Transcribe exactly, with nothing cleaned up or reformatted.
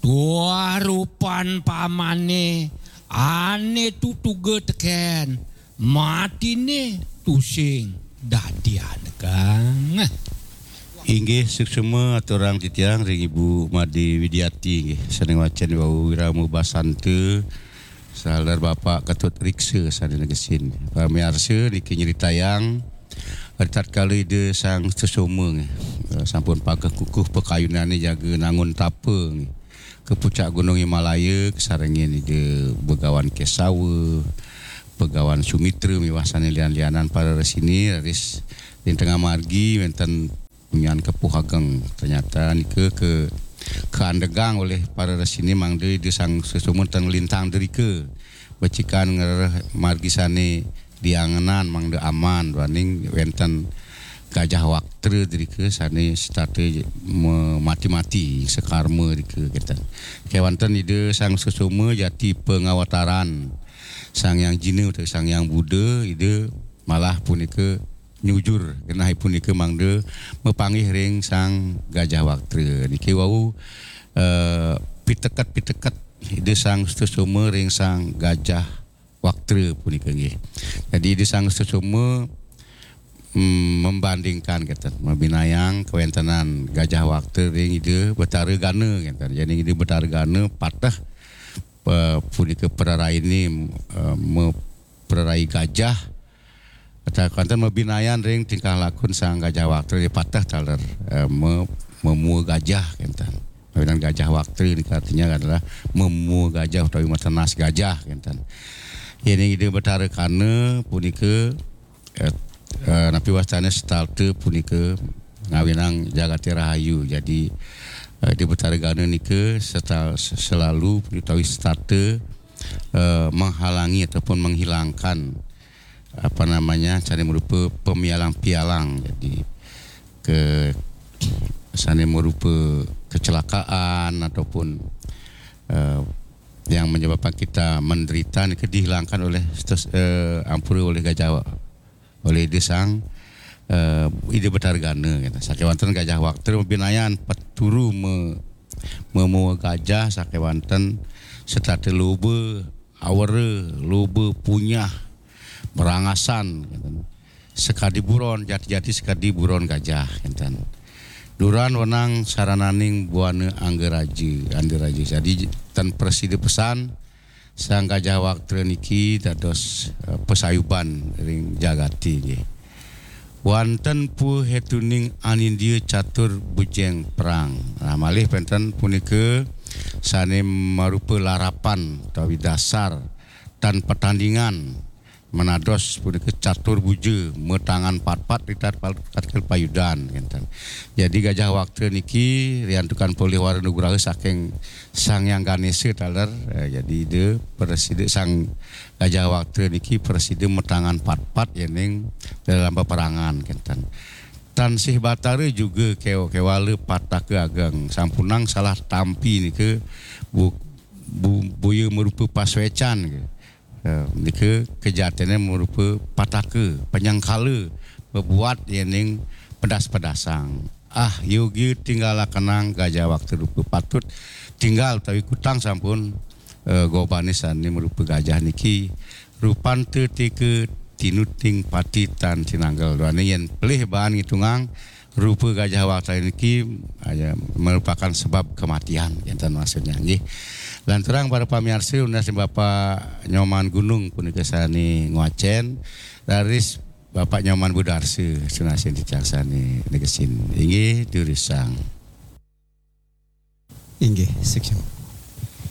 Tuah rupan pamane ane tutuga teken, matine tusing dadi anekang. Inggih, suksma aturang titiang ring Ibu Made Widiati, inggih, sane ngwacen wau Wirama Basanta, saler Bapak Ketut Riksa sane negesin. Pamiarsa, niki nyritayang ritatkala Ida Sang Sutasoma, nggih, eh, sampun pageh kukuh pakayunane jaga nangun tapa, nggih, ka pucak Gunung Himalaya, kasarengin Ida Begawan Kesawa, Begawan Sumitra miwah sane lian-lianan para resine, raris ring tengah margi wenten punyan kepuh ageng. Ternyata nika ke, kaandegang oleh para resine mangda Ida Sang Sutasoma ten nglintang drika. Becikan ngrereh margi sane liangenan mangda aman duaning wenten Gajah Waktra drika sane setata me-, mati-mati sakarma drika kenten. Kewanten Ida Sang Sutasoma jati pangawataran Sang Hyang Jina utawi Sang Hyang Buddha, Ida malah punika nyujur genah punika mangda mapanggih ring Sang Gajah Waktra. Niki wau, eh, piteket-piteket Ida Sang Sutasoma ring Sang Gajah Waktra punika, nggih. Jadi Ida Sang Sutasoma, mm, membandingkan kenten, mabinayang kawentenan Gajah Waktra ring Ida Betara Gana kenten. Jadi Ida Betara Gana pateh, eh, punika praraine, eh, me-, prarai gajah. Kata kenten mabinayan ring tingkah lakun Sang Gajah Waktra, dia pateh taler, eh, me-, memua gajah kenten. Kawinan Gajah Waktra nika artinya adalah memua gajah utawi matenas gajah kenten. Yening Ida Betara Gana punika, eh, eh, napi wastane setata punika ngawinang jagate rahayu. Jadi, eh, Ida Betara Gana nika seta-, selalu utawi setata, eh, menghalangi ataupun menghilangkan, apa namanya, sane marupa pemialang-pialang. Jadi, ke sane marupa kecelakaan ataupun, eh, yang menyebabkan kita menderita nika dihilangkan oleh stes-, eh, ampura oleh gajah, oleh Ida Sang, eh, Ida Betara Gana, gitu. Sakewanten Gajah Waktra mabinayan peturu me-, memua gajah, sakewanten setata loba, awera, loba, punyah, marangasan, gitu. Sakadi buron, jati-jati sakadi buron gajah, kenten. Duran wenang sarananing buana anggaraja, andiraja. Jadi, ten prasida pesan, Sang Gajah Waktra niki dados, eh, pasayuban ring jagate, nggih. Wanten puhetuning anindia catur bujeng perang. Nah, malih penten punika sane marupa larapan utawi dasar tan patandingan. Menados punika catur buja, matangan patpat ri tat-, tatkala payudan, kenten. Jadi Gajah Waktra niki riantukan polih wara nugraha saking Sang Hyang Ganesa taler, eh, jadi Ida prasida Sang Gajah Waktra niki prasida matangan patpat yening dalam peperangan, kenten. Tan Sih Batara juga kew-, kewala pataka ageng, sampunang salah tampi nika bu-, bu-, boya marupa paswecan, ke. Eh, nika kejatine marupa pataka, panyangkala, bebuat yening pedas-pedasang. Ah, yogi tinggalakenang Gajah Waktra rupa patut tinggal utawi kutang sampun, eh, gobane sane marupa gajah niki. Rupanta tika tinuting pati tan tinanggel. Duane yen pelih baan ngitungang rupa Gajah Waktra niki, ah, ya, merupakan sebab kematian, kenten maksudnya, nggih. Lanturang para pamiarsa, nunas Bapak Nyoman Gunung punika sane ngwacen, raris Bapak Nyoman Budarsa, sunasin titiang sane negesin. Inggih, durusang. Inggih, seksyen.